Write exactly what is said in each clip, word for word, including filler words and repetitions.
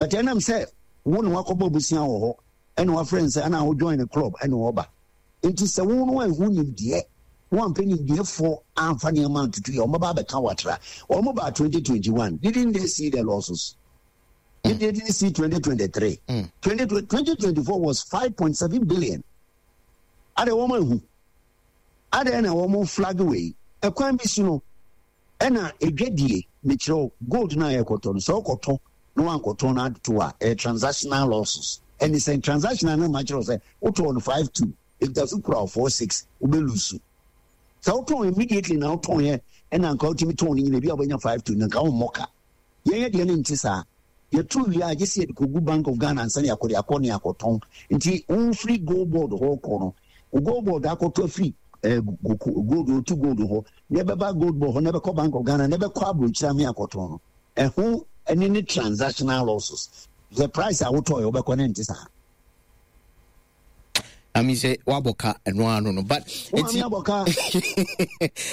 But ɛnam sɛ wo na wakɔbɔ abusua wɔ hɔ, ɛna wafrɛ no sɛ ɛna wo join the club, ɛna ɔba. Nti sɛ wo no anhu nimdeɛ na wampɛ nimdeɛfoɔ amfa nneɛma antoto yɛ, wɔbɛba abɛka watra. Wɔn baa twenty twenty-one, didn't they see the losses? Did they didn't see twenty twenty-three? Mm. twenty, twenty twenty-four was five point seven billion. Ade wɔn ahu ade na wɔn flag wei ɛkwan bi so no, ɛna edwadie mekyerɛw gold na yɛkɔtɔ no, sɛ ɔkɔtɔ na wankɔtɔn no ato a, ɛyɛ transactional losses. Ɛne sɛ transactional no ma kyerɛw sɛ wotɔɔ no five two, ɛkuta so kura four six, wobɛ lose. Sɛ wotɔn immediately na wotɔn yɛ, ɛna nka wotumi tɔn no nyina bi a, wobɛnya five two na nka wommɔ ka. Yɛnyɛ deɛ no nte saa. Yɛto wie a, gye sɛ yɛde kɔgu Bank of Ghana ansa ne yɛakɔde akɔ ne akɔtɔn. Nti wofiri Gold Board hɔ kɔ no, Gold Board akɔtɔ afiri eh, gold otu gold hɔ na ɛbɛba Gold Board hɔ na ɛbɛkɔ Bank of Ghana na ɛbɛkɔ aburokyire ame akɔtɔn no, ɛho ɛne ne transactional losses. The price a wotɔɔ yɛ wobɛkɔ ne nte saa. I mean sɛ wabɔ ka ɛno ano no, but nti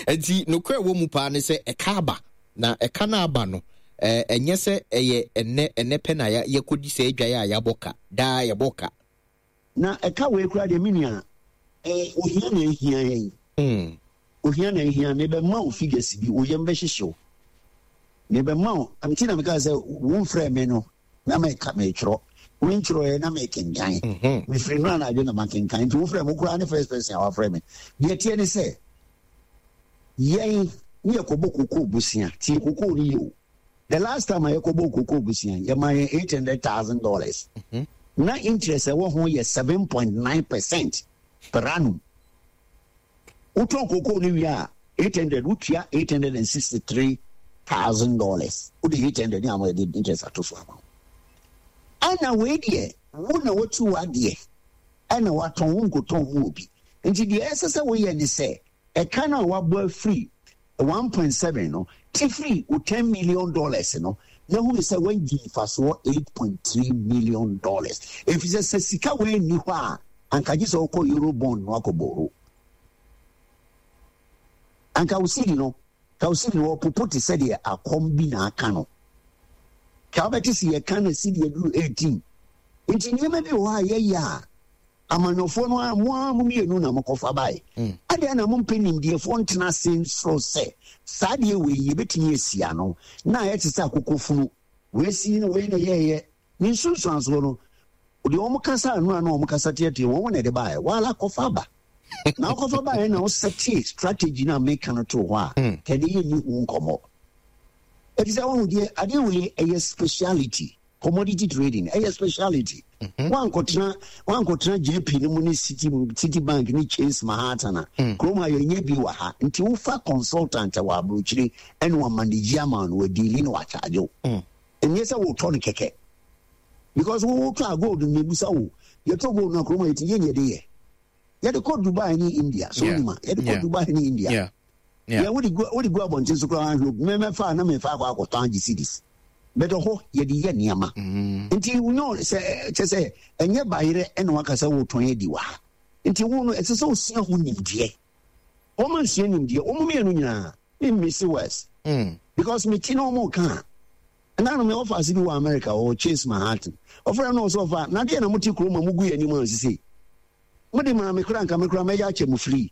nti nokorɛ wɔ mu paa ne sɛ ɛka aba, na ɛka no aba no, ɛnyɛ sɛ ɛyɛ ɛnɛ ɛnɛ pɛ na yɛkɔdi sɛ adwaeɛ a yɛabɔ ka daa, yɛbɔ ka. Na ɛka wei kora deɛ, me nua, ohia na ehia yɛn. mm. Ohia na ehia. Mebɛma wo figures bi, wo yam bɛhyehye wo. Mebɛma wo nti na meka sɛ womfrɛ me no na meka metwerɛ mentwerɛɛ na mekenkan. Mhm. Mefiri no anadwo na makenkan, nti wofrɛ me koraa ne first person a wafrɛ me. Deɛ teɛ ne sɛ yɛn ne yɛkɔbɔ kokoo bosea. Tie kokoo no yie o. The last time a yɛkɔbɔ kokoo bosea, yɛma yɛn eight hundred thousand dollars. Mhm. Na interest ɛwɔ ho yɛ seven point nine percent per annum. Wotɔn kokoo no wie a, eight hundred, wotua eight hundred and sixty three thousand dollars. Wode eight hundred ne ama yɛde interest ato so ama wo. Ɛna wei deɛ, wo na watu w'adeɛ ɛna watɔn, wo nkotɔn mu obi. Nti deɛ ɛsɛ sɛ woyɛ ne sɛ ɛka no a wabɔ afiri one point seven no, ti firi wo ten million dollars no na hunu sɛ wagyi mfasoɔ eight point three million dollars, ɛfiri sɛ sɛ sika wei nni hɔ a, anka gye sɛ wokɔ euro bond no akɔbɔro. Anka wo sidi no, ka wo sidi no wɔpopo te sɛ deɛ akɔm bi na aka no, ka wobɛte sɛ yɛka na sidi aduru eighteen. Nti nneɛma bi wɔ hɔ a yɛyɛ a, amanyɔfoɔ no a mo a mo mmienu na mokɔfa bae. Mm. Adeɛ na mompɛ nimdeɛfoɔ ntena ase nsoro sɛ saa deɛ wei yɛbɛtumi asi ano na ayɛ te sɛ akokɔ funu wei si no, wei na yɛyɛ ne nsunsuansoɔ no deɛ, wɔn kasa ano a na wɔn kasa teatea wɔn na ɛde baeɛ. Wala kɔfa aba na wokɔfa baeɛ na wosɛte strategy no a meka no to hɔ a, Mm. kɛde yɛ ni ho nkɔmmɔ, ɛfiri sɛ wohu deɛ adeɛ wei ɛyɛ speciality. Commodity trading ɛyɛ speciality. Mhm. Wankɔtena wankɔtena J P no mu ne City City Bank ne Chase Manhattan a, Mm. kurom ha yɛnyɛ bi wɔ ha. Nti wofa consultant a wɔ aburokyire ɛne wa manage ama no, wa deal na wakyagye wo. Mm. Ɛnyɛ sɛ wotɔ no kɛkɛ, because wotɔ a gold no, mebusa wo, yɛtɔ gold no a, kurom ha yɛti yɛn yɛde yɛ yɛde kɔ Dubai ne India so. Yeah. Wonim a yɛde kɔ Yeah. Dubai ne India. Yeah. Yeah. Yɛ wode gu wode gu abɔnten so koraa ahwɛ, mɛmɛfa na mɛfa akɔ akɔtɔn agye cedis bɛtɛ hɔ yɛde yɛ nneɛma. Mm. Nti wonyɛ sɛ kyɛ sɛ ɛnyɛ bayerɛ ɛna waka sɛ wotɔn adi wɔ ha. Nti wo no, ɛsɛ sɛ wosua ho nimdeɛ. Wɔma nsua nimdeɛ, wɔn mmienu nyinaa memmisi west Mm. because meti na wɔn ka a, ɛna no me ɔfa bi wɔ America, ɔwɔ Chase Manhattan. Ɔfrɛ no ɔsɛ ɔfa na deɛ na mote kurom a mogu yɛn anim a sisi mode maa me kora, nka me kora mɛyɛ akyɛ mo free.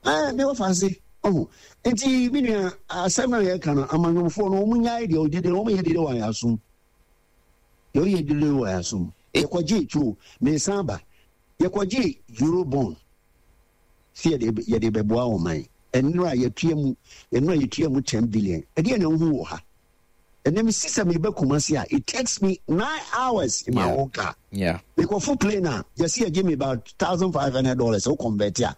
Ɛɛ, me wɔfa ase ɔho. Nti me nua, asɛm no a yɛka no, amanyɔfoɔ no wɔn nyae deɛ ɔgye deɛ wɔn yɛ dede wɔ ayɛ asom, deɛ ɔyɛ dede wɔ ayɛ asom. Yɛkɔgye tuo mmiɛnsa aba, yɛkɔgye euro bond si yɛde yɛde bɛboa wɔn man. Ɛnura yɛtua mu, ɛnura yɛtua mu ten billion. Ɛdeɛ na ɛho wɔ ha ɛnna mi sisa mi bɛ Kumasi a, it takes me nine hours in my Yeah. own car. Yeah. Mekɔfo plane a, yɛsi yɛgye me about thousand five hundred dollars o convert a,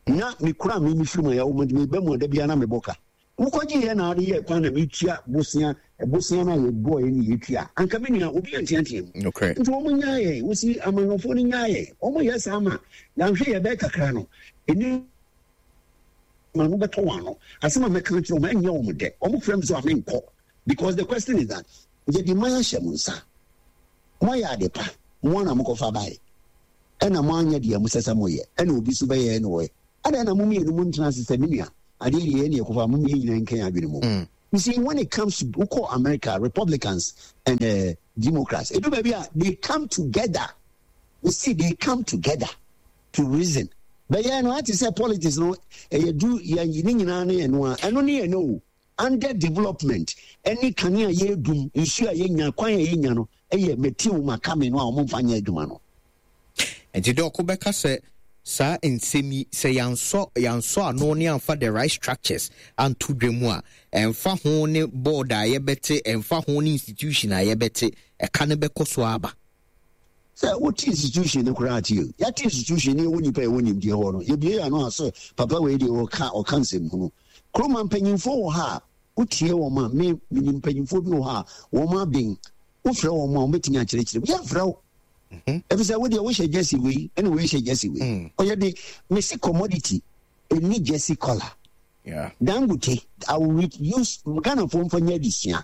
na mekura mi mi firi mu a yɛwɔ mu mi bɛ mu a, dabi ana mebɔ ka. Wokɔgye yɛ na ade yɛ kwan na metua bosea, bosea no a yɛbɔɔ yɛ ne yɛtua. Anka me nua, obi anteatea mu. Nokorɛ. Nti wɔn nyaa yɛn wosi amanyɔfoɔ no nyaa yɛn. Wɔn yɛ saa ma yɛanhwɛ yɛ bɛyɛ kakra no ɛni ma no bɛtɔ wɔn ano. Asɛm a mɛka kyerɛ wɔn, ɛnyɛ wɔn dɛ. Wɔn frɛ m so a, menkɔ, because the question is that yɛde man ahyɛ mo nsa, moayɛ ade pa, mo ana mokɔfa bae ɛna moanyɛ deɛ mo sɛ sɛ moyɛ, ɛna obi so bɛyɛ ɛna wɔyɛ ɛna ɛna mo mmienu mo ntena ase sɛ me nua, adeɛ deɛ yɛne yɛkɔfa mo mmienu nyinaa nkan adwene mu. Mm. You see, when it comes to wokɔ America, Republicans and uh, Democrats, edu baabi a they come together. You see, they come together to reason. Bɛyɛ no ate sɛ politics no ɛyɛ du yɛn ne nyinaa ne yɛn no a ɛno ne yɛn no o. Under development ɛne kanea yɛdum nsuo a yɛnya kwan a yɛnya no ɛyɛ mɛti wo maka me no a wɔn mfa nyɛ adwuma no. Nti Doc bɛka sɛ saa nsɛm yi sɛ yɛansɔ yɛansɔ ano ne amfa the right structures anto dwa mu a, ɛmfa ho ne board a yɛbɛte, ɛmfa ho ne institution a yɛbɛte, ɛka no bɛkɔ so aba. Sɛ wote institution no koraa te o, yɛate institution ne yɛwɔ nipa yɛwɔ nimdeɛ hɔ no, yɛbie yɛn ano a sɛ papa wei deɛ ɔka ɔka nsɛm hunu. Kuroma mpanyinfoɔ wɔ ha a wotie wɔn a, me menim mpanyinfoɔ bi wɔ ha a wɔn aben, wofrɛ wɔn a wɔbɛtumi akyerɛkyerɛ mu, yɛmfrɛ wo. Ɛfiri sɛ wodeɛ wohyɛ jersey wei ɛna wei hyɛ jersey wei. Mm. Ɔyɛ de mesi commodity ɛni jersey collar. Yeah. Dangote, I will use Ghana for mfa nyɛ adesua.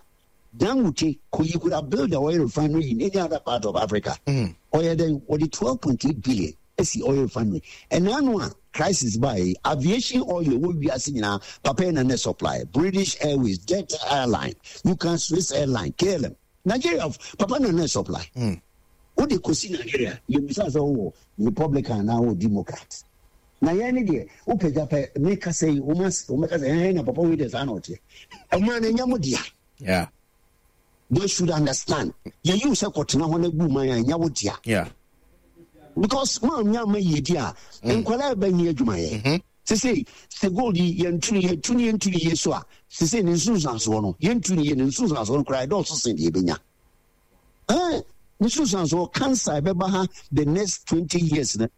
Dangote, you could have built the oil refinery in any other part of Africa. Mm. Ɔyɛ dɛn wɔde twelve point eight billion esi oil refinery. Ɛna ano a crisis baa aviation oil wɔ wiase nyinaa papa yi na ne supply British Airways, Delta Airline, you can Swiss Airline, K L M. Nigeria papa na ne supply. Mm. Wode kɔsi Nigeria yɛbisa sɛ wowɔ Republican na wɔ Democrat. Na yɛn ne deɛ wopagya pɛ meka sɛ yi wɔmɛka sɛ ɛhɛn na papa wei deɛ saa na ɔteɛ. Ɔman no ɛnyɛ mo dea. Yeah. They should understand. Yɛyi wo sɛ kɔtena hɔ na gu man a ɛnyɛ wo dea. Yeah. Because mo anya ama yiedi a nkwadaa ɛbɛnyɛ adwumayɛ. Sese sɛ gold yi yɛntu ne yɛtu ne yɛntu ne yie so a sese ne nsunsuansoɔ no yɛntu ne yie ne nsunsuansoɔ no koraa ɛdɔɔso sen deɛ ɛbɛnya. Ɛn ne nsunsuansoɔ cancer ɛbɛba ha the next twenty years no.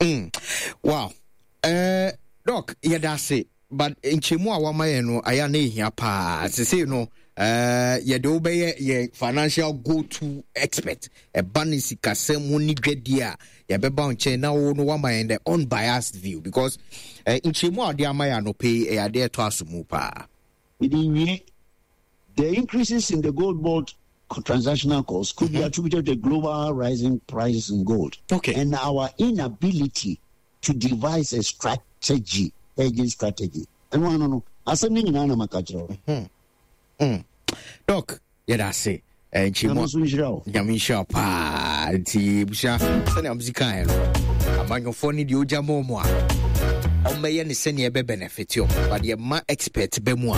Mm. Wow. Uh, Doc, yɛda ase but nkyɛmu a wama yɛn no ayɛ na ehia paa sesei no uh, yɛde wo bɛyɛ yɛn financial go to expert ɛba ne sikasɛm mu ne dwadie a yɛbɛba wo nkyɛn na wo no wama yɛn the unbiased view because uh, nkyɛmu a wɔde ama yɛn anɔpɛ yi ɛyɛ adeɛ ɛtɔ aso mu paa. Mede wie, the increases in the gold board transactional costs could mm-hmm. be attributed to global rising prices in gold. Okay. And our inability to devise a strategy, hedging strategy. And one, no, no. Asɛm no nyinaa na maka kyerɛ wo. Mm. Doc, yɛda ase. Nkyɛmu Nyame nhyira wo paa. Nti busua sɛnea mo si kaeɛ no, amanyɔfoɔ no deɛ ogya ma ɔmo a ɔmmɛyɛ ne sɛnea ɛbɛ benefit ɔmo, but deɛ ma expert bɛ mu a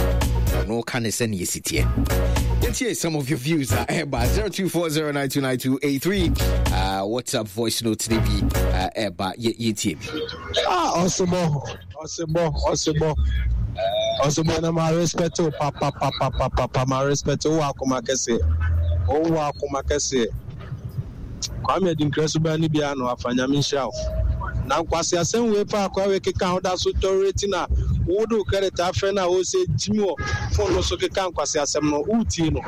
ɔno ka ne sɛnea ɛsi teɛ. Yɛtie some of your views a ɛba zero two four zero nine two nine two eight three uh, WhatsApp voice note ne bi uh, ɛba yɛtie bi. Ah, ɔsebɔ, ɔsebɔ, ɔsebɔ, ɔsebɔ na ma respect o pa pa pa pa pa pa pa ma respect o wɔ akoma kɛseɛ, o wɔ akoma kɛseɛ. Kwame Adinkra suban ne biara no afa Nyame nhyira wo. Na nkwasi asɛm wei pa akwa wei keka ho da so tolerate na wo de wo credit afrɛ na wo sɛ gyimi wɔ phone no so keka nkwasi asɛm no wo tie no.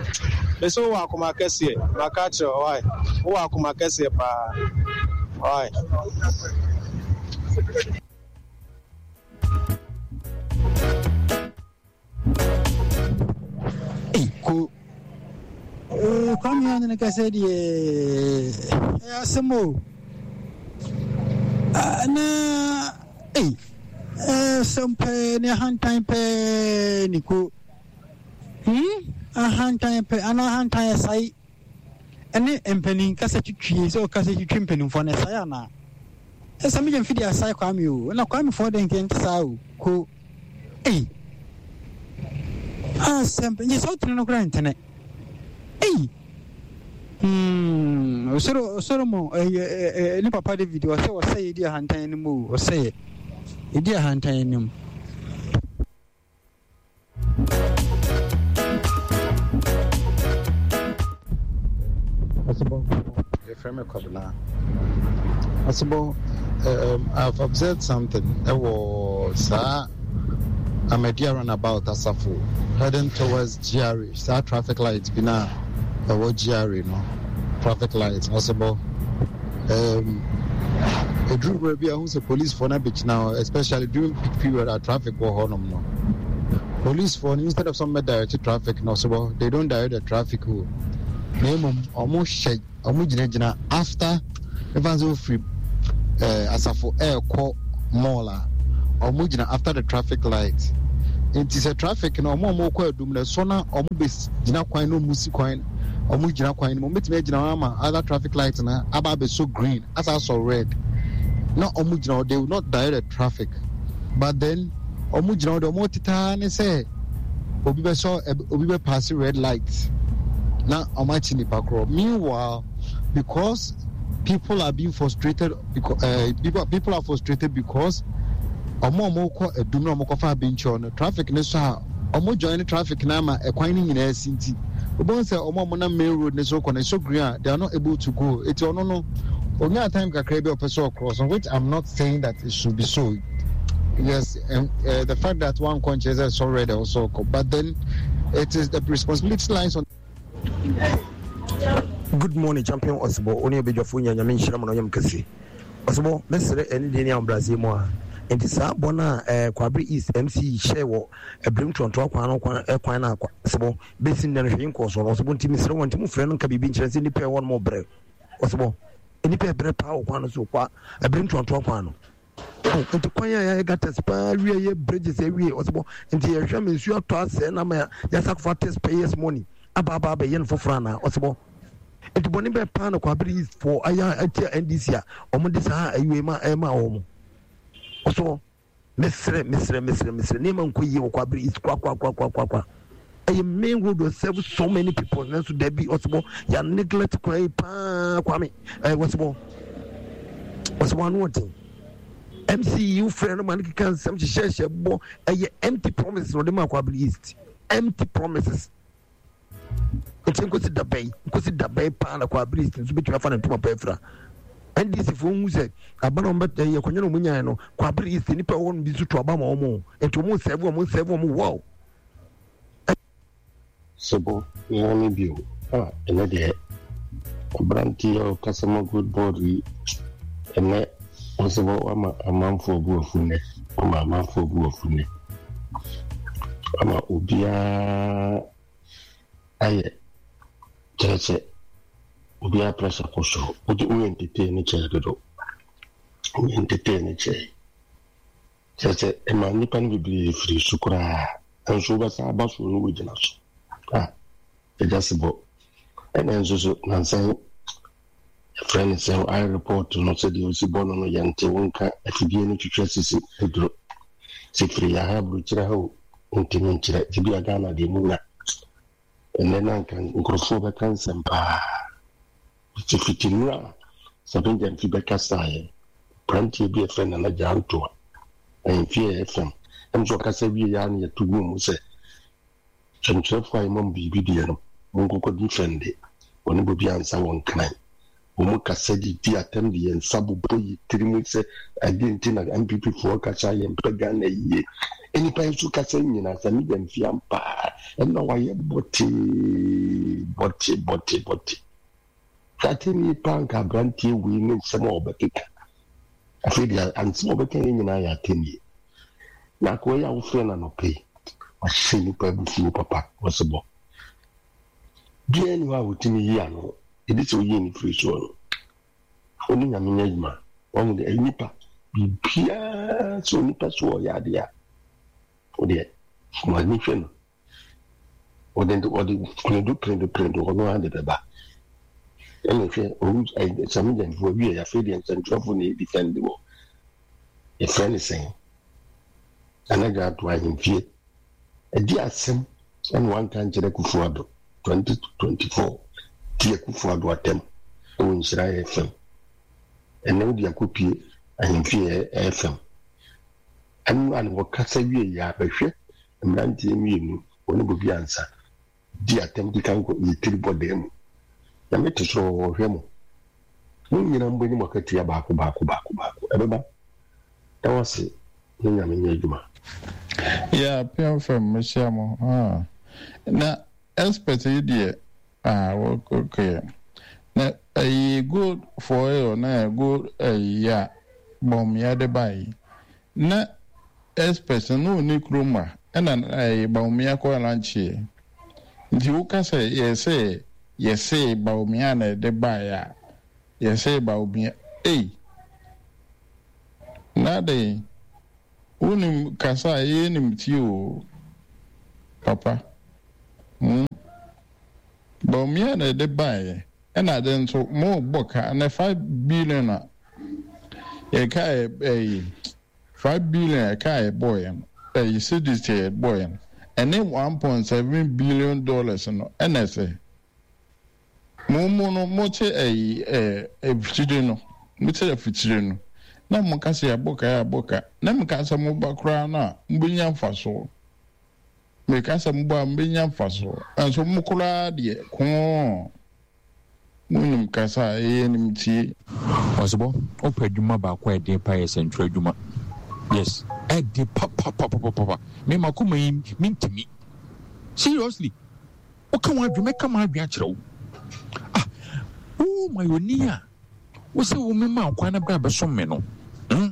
Me sɛ wo wɔ akoma kɛseɛ, maka kyerɛ wo why. Wo wɔ akoma kɛseɛ paa. Why? Ko. Eh, Kwame Anene kasa deɛ ɛyɛ asɛm o. Na ei, ɛsɛm pɛɛ ne ahantan pɛɛ ne ko. Hmm, ahantan pɛ anaa ahantan ɛsae ɛne mpanin kasa twitwie sɛ ɔkasa twitwi mpanimfoɔ no ɛsae anaa? Ɛsɛ megye mfidi asae Kwame o, na Kwame foɔ deɛ nkɛ nte saa o, ko. Ei, asɛm pɛ, nyɛ sɛ wotene no koraa ntene. Ei, hmm, osoro Solomon ɛyɛ ne papa David ɔsɛ ɔsɛ yɛ di ahantan anim o, ɔsɛ yɛ yɛ di ahantan anim. Ɔsebɔ, yɛfrɛ me Kwabena. Ɔsebɔ, um, I've observed something. Ɛwɔ saa Ahmadiyya runabout asafo heading towards G R A, saa traffic light bi na ɛwɔ G R A no, traffic light. Ɔsebɔ, um, ɛduru berɛ bi a wohu sɛ policefoɔ no abɛgyina hɔ, especially during peak period a traffic wɔ hɔnom no. Policefoɔ no, instead of some direct traffic no, ɔsebɔ, they don't direct the traffic o. Na mmom ɔmo hyɛ ɔmo gyinagyina after ɛfa sɛ ofiri ɛɛ asafo ɛɛkɔ mall a Ɔmo gyina after the traffic light. Nti sɛ traffic no ɔmo a ɔmo kɔ Adum no ɛsɔ na ɔmo bɛ gyina kwan no, ɔmo si kwan, ɔmo gyina kwan no mu, ɔmo bɛtumi agyina hɔ ama other traffic light no aba abɛsɔ green asa asɔ red na ɔmo gyina hɔ. They will not direct the traffic, but then ɔmo gyina hɔ de ɔmo tetaa ne sɛ obi bɛsɔ, obi bɛ pass red light na ɔmo akyi nipa korɔ. Meanwhile, because people are being frustrated, because uh, people, people are frustrated because ɔmo a ɔmo kɔ Adum na ɔmo kɔfa Abenkyɛw no, traffic ne so a ɔmo join traffic na ama ɛkwan no nyinaa si. Nti wobɛhu sɛ ɔmo a ɔmo nam main road ne so kɔ no, so green a, they are not able to go. Eti ɔno no onya time kakra bi a ɔpɛ sɛ ɔcross, which I'm not saying that it should be so. Yes, and uh, the fact that one conscious is already also, but then it is the responsibility lies on. Good morning, Champion Ɔsebɔ, wo ne abadwafoɔ nya. Nyame nhyira mo na ɔnyam kɛse. Ɔsebɔ, mɛsrɛ ɛne deɛ ne ahobrɛaseɛ mu a nti saa bɔ no a eh, Kwabre East M C hyɛ wɔ Abirim Torontoa kwan no kwan eh, kwan no a Ɔsebɔ bɛsi nnɛ no hwee nkɔɔ so no. Ɔsebɔ, nti mesrɛ wɔ nti mofrɛ no nka biribi nkyerɛ sɛ nnipa ɛwɔ no mɔbrɛ. Ɔsebɔ, nnipa ɛbrɛ paa wɔ kwan no so kwa Abirim Torontoa kwan no. Oh, nti kwan a yɛayɛ gutters paa wie, yɛ bridges awie, ɔsebɔ, nti yɛhwɛ ma nsuo atɔ asɛe na ma yɛasa akɔfa taxpayers money aba aba abɛyɛ no foforɔ anaa? Ɔsebɔ, nti bɔne bɛɛ paa na Kwabere East foɔ ayɛ atia N D C a ɔmo saa ayiwei ma ɛma wɔn? Ɔsɔ mesrɛ, mesrɛ, mesrɛ, mesrɛ, nneɛma nkɔ yie wɔ Kwabere East kwakwakwakwakwa. Ɛyɛ main road wɔ serve so many people, nanso dabi, ɔsebɔ, yɛ neglect kwan yi paa. Kwame ɛɛ wɔsebɔ, ɔsebɔ, ano ɔden. M C frɛ no ma no keka nsɛm hyehyɛhyɛ bɔ. Ɛyɛ empty promises na ɔde ma Kwabere East, empty promises. Nti nkosi dabɛn, nkosi dabɛn paa na Kwabere East nso bɛtumi afa ne ntoma pa afira N D C foɔ hu sɛ aba na ɔmbɛ ɛyɛ akonnwa na ɔmo nyae no? Kwabere East nipa ɛwɔ no bi nso to aba ma ɔmo, nti ɔmo nsɛɛbo, ɔmo nsɛɛbo ɔmo wow. Sebo nyame bio a ɛnɛ deɛ aberanteɛ a ɔkasa ma Gold Board yi, ɛnɛ ɔsebɔ wama amanfoɔ bu afu nnɛ, wama amanfoɔ bu afu nnɛ, ama obiara ayɛ kyerɛ sɛ obiara pressure kɔ soro. Wode woyɛ ntetee no kyɛɛ dodo, woyɛ ntetee no kyɛɛ kyerɛ sɛ ɛma nnipa no bebree firi so koraa, nso wobɛsa aba so no wogyina so a ɛgya sebɔ. Ɛna nso so nansan yɛfrɛ no sɛ ayɛ report no sɛdeɛ ɔsi bɔ no no yɛnte wo nka. Afidie no twitwa sisi aduro sɛ firi yɛha aburokyerɛ ha o, ntumi nkyerɛ ebi a Ghana deɛ mu nya. Ɛnɛ na nka nkurɔfoɔ bɛka nsɛm paa fiti nnura a Sɛbɛngya mfi bɛkasaeɛ. Aberanteɛ bi a yɛfrɛ Nana Gyantoa ahemfie a ɛfam ɛm sɛ ɔkasa wie yɛ a no yɛto gu mu sɛ kyɛmkyerɛfoɔ a yɛma mu biribi deɛ no monkɔkɔ defend wɔne bɔbi ansa wɔn kran. Wɔn kasa didi atɛm de yɛn nsa bobɔ yi tiri mu sɛ adeɛ nti na N P P foɔ kasa yɛn mpɛ Ghana yie. Nnipa yi nso kasa nyinaa sɛ media mfia mpaa ɛna wayɛ bɔtee bɔte bɔte bɔte atɛni paa. Nka aberanteɛ wei ne nsɛm a ɔbɛkeka afei deɛ, ansɛm a ɔbɛka yɛ nyinaa yɛ atɛnie. Na akoa yi a wofrɛ no anɔpɛ yi wahyɛ nnipa abufuo papa. Wɔsebɔ biara ni hɔ a wɔtumi yi ano ɛdi sɛ woyie ne firi soɔ no, ɔne Nyame nyɛ adwuma. Wɔn de nipa biribiara sɛ onipa so ɔyɛ adeɛ a wodeɛ mo ani hwɛ no, ɔde ɔde piredu piredu piredu ɔno ara de bɛba. Ɛna hwɛ owu sɛmigyanfoɔ wie. Afei deɛ nsɛntwerɛfoɔ na ɛdi fɛn de wɔ yɛfrɛ ne sɛn anagya ato ahemfie ɛdi asɛm. Ɛna wanka nkyerɛ Akufo Addo twenty twenty-four ti Akufo Addo atɛm ɛwɔ Nhyira F M. Ɛnɛ wode akɔpie ahemfie F M ɛno a na wɔkasa wie yɛ abɛhwɛ mmeranteɛ mmienu wɔne bobi ansa di atɛm keka nkɔ yɛ tiri bɔ dan mu. Nyame te soro wɔhwɛ mo, mo nyinaa mbɔ anim akatua baako baako baako baako ɛbɛba na wase ne Nyame nyɛ adwuma. Yeah, P M F M, mehyia mo. Ah. Na expert yi deɛ, ah, okay. Na ɛyi gold for oil na gold ɛyi a Bawumia de ba yi. Na expert no onni kurom a ɛna ɛyi Bawumia kɔ launch. Nti woka sɛ yɛsɛ yɛsɛ Bawumia na ɛde baeɛ a yɛsɛ Bawumia. Ei. Na de Wonim kasa a yɛyɛ nim tie o papa. Hmm. Bawumia na ɛde baeɛ ɛna ade nso mo bɔ ka na five billion a yɛka ɛyi five billion ɛka a yɛbɔɔyɛ no ɛyi cedis yɛ bɔɔyɛ no ɛne one point seven billion dollars no ɛna ɛsɛ mo mo no mo te ɛyi ɛɛ afikyire no mo te afikyire no na mo ka sɛ yɛabɔ ka yɛabɔ ka na mo ka sɛ mo ba koraa no a mo bɛnya mfasoɔ meka sɛ mo ba a mo bɛnya mfasoɔ nso mo koraa deɛ kɔɔ monim kasa a ɛyɛ nim tie. Ɔsebɔ, wopɛ adwuma baako a ɛden pa yɛ sɛntwerɛ adwuma. Yes, ɛden papapapapapa. Me makoma yi mentumi. Seriously, woka w'adwene mɛka m'adwene akyerɛ wo. Ah, wo mayɔni a wo sɛ wo mema kwan na bra bɛsom me no. Hmm?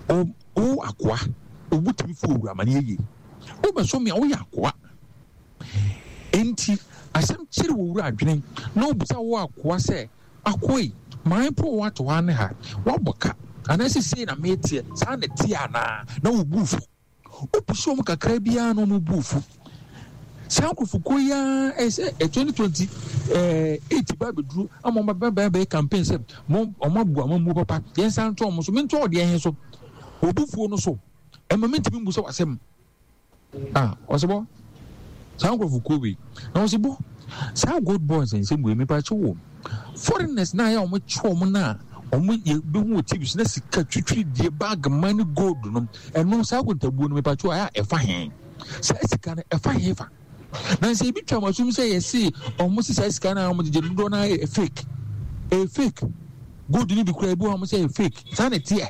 Wo, wo akoa, wobɛtumi fo owura ma no yɛ yie. Wobɛsom me a woyɛ akoa. Enti asɛm kyere wo wura adwene na obisa wo akoa sɛ, akoa yi, man po wo ato ha ne ha, woabɔ ka, anaasɛ sei na meteɛ, saa na ɛteɛ anaa? Na wo bu fu. Wopusu wɔn kakra biara na wɔn bu fu. Saa nkurɔfokuo yi ara ɛyɛ sɛ twenty twenty eight ba abɛduru ama wɔn ba bɛyɛ campaign sɛ mo wɔn abu amammuo papa, yɛn nsa nto wɔn so, mentɔ ɔdeɛ he so, wɔbu fuo no so, ɛma mentumi mbu sɛ wasɛm. Ah, ɔsebɔ saa nkurɔfokuo wei na ɔsebɔ saa gold boys nsɛm wei mepa kyɛ wɔ foreigners na ayɛ wɔn kye wɔn na wɔn yɛ bɛhu wɔ T V so na sika twitwiri die bag money gold no ɛno saa akontabuo no mepa kyɛ wɔ ayɛ a ɛfa he saa sika no ɛfa he fa na sɛ ebi twa wɔn asom sɛ yɛse wɔn si saa sika no a wɔn gyegye dodoɔ no ayɛ fake ɛyɛ fake gold no bi kura ebi wɔ wɔn sɛ ɛyɛ fake saa na ɛteɛ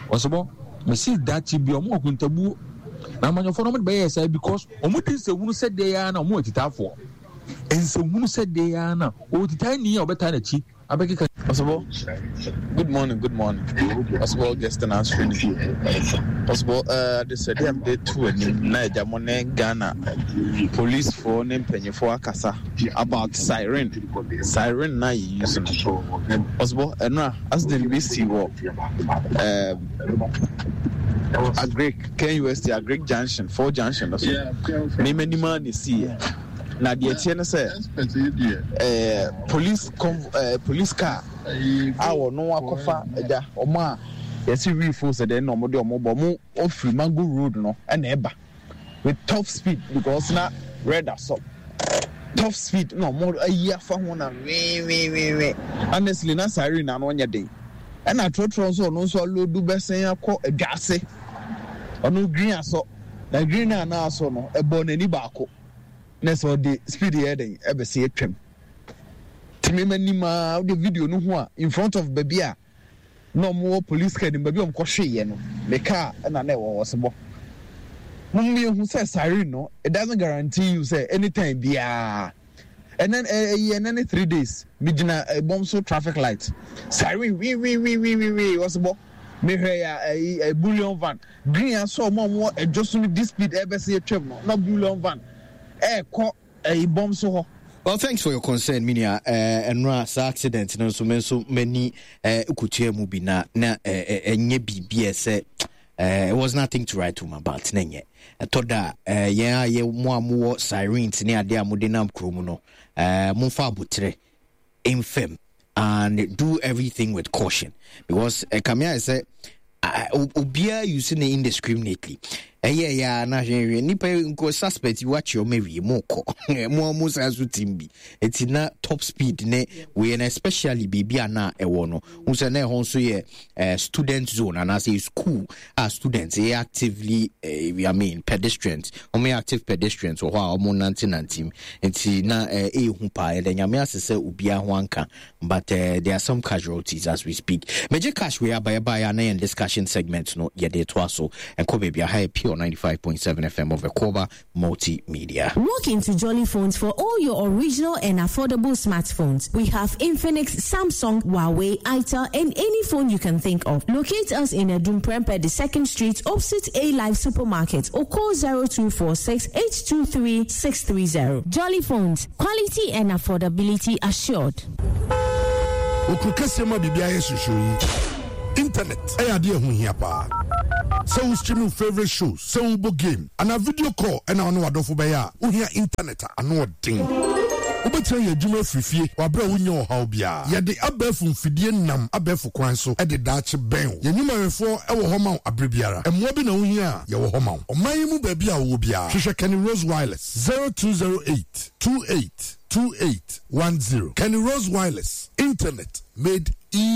ɔsebɔ mesi dakye bi wɔn akontabuo na amanyɔfoɔ no wɔn de bɛyɛ saa because wɔn di nsɛhunu sɛ deɛ ya na wɔn atitaafoɔ nsɛhunu sɛ deɛ ya na ɔtitaa ni a ɔbɛtaa n'akyi abɛkeka. Ɔsebɔ, good morning, good morning. Ɔsebɔ Augustine Asoni. Ɔsebɔ, ɛɛ adesrɛdeɛ a mede to anim na agya mo ne Ghana policefoɔ ne mpanyinfoɔ akasa about siren, siren na yɛ use no. Ɔsebɔ, ɛno a accident bi si wɔ ɛɛ Agric, K U S T Agric Junction, four junction no so. Mema anim a na esi yɛ. Na deɛ ɛteɛ ne sɛ ɛɛ police conv ɛɛ police car a wɔn akɔfa agya wɔn a yɛsi wii sɛ deɛ na wɔn de wɔn bɔ wɔn ofiri Mango Road no ɛna ɛba with top speed because na red asɔ top speed na wɔn ayi afa ho na wee honestly na siren na ano nyɛ den ɛna trɔtrɔ nso ɔno nso alodu bɛsɛn akɔ adwa ase ɔno green asɔ na green na ana asɔ no ɛbɔ n'ani baako. Na sɛ ɔde speed yɛ den ɛbɛsɛ atwam tìmí ma nim a ɔde video no ho a in front of baabi a na ɔmo wɔ police car nim baabi a ɔmo kɔhwe yɛ no ne car ɛna na ɛwɔ hɔ sebɔ mo mmienu sɛ siren no it doesn't guarantee you sɛ anytime biara ɛnɛ ɛyɛ ɛnɛ ne three days mi gyina ɛbɔm so traffic light siren wii wii wii wii wii wii ɔsebɔ mehwɛ ya ɛyi ɛ bullion van green asɔ ɔmo a ɔmo wɔ ɛdwo so no di speed ɛbɛsɛ atwam no na bullion van ɛkɔ ɛyi bɔm so hɔ. Well, thanks for your concern, Minia. Ɛnura saa accident no nso me nso m'ani kutua mu bi na na ɛnyɛ biribi a ɛsɛ it was nothing to write home about na nyɛ ɛtɔ da yɛn a yɛ mo a mowɔ sirens ne adeɛ a mode nam kurom no momfa abotrɛ mfam and do everything with caution because ɛkame ayɛ sɛ obiara use ne indiscriminately ɛyɛ ya na hwehwɛ nipa nko suspect yi wakye ɔmo awie mo kɔ mo mo san so team bi eti na top speed ne wei na especially baabi a na ɛwɔ no n sɛ na ɛhɔ nso yɛ eh, student zone anaasɛ school a students yɛ actively eh, I mean pedestrians ɔmo yɛ active pedestrians wɔ hɔ a ɔmo nante nante mu nti na eh, ɛyɛ paa yɛda Nyame ase sɛ obiara ho anka but uh, there are some casualties as we speak. Major cash we are by by and discussion segment no yɛde to aso and ko baby high pure ninety-five point seven F M of Ekoba Multimedia. Walk into Jolly Phones for all your original and affordable smartphones. We have Infinix, Samsung, Huawei, Itel, and any phone you can think of. Locate us in Adum Prempeh, the second street, opposite A Life Supermarket, or call zero two four six eight two three six three zero. Jolly Phones, quality and affordability assured. Okrukese ma bibia yesu shuri. Internet ɛyɛ adeɛ ho hia paa. Sɛ wo stream wo favourite shows, sɛ wobɔ game, anaa video call ɛna wo ne w'adɔfo bɛyɛ a, wohia internet a ano ɔden. Wobɛtumi ayɛ adwuma afiri fie wɔ aberɛ a wonnya ɔhaw biara. Yɛde abɛɛfo mfidie nam abɛɛfo kwan so de daakye bɛn wo. Yɛn nnwumayɛfoɔ wɔ hɔ ma wo aberɛ biara. Mmoa bi na wohia a, yɛwɔ hɔ ma wo. Ɔman yi mu baabi a wowɔ biara, hwehwɛ Kenny Rose Wireless, zero two zero eight two eight two eight one zero. Kenny Rose Wireless, internet made easy.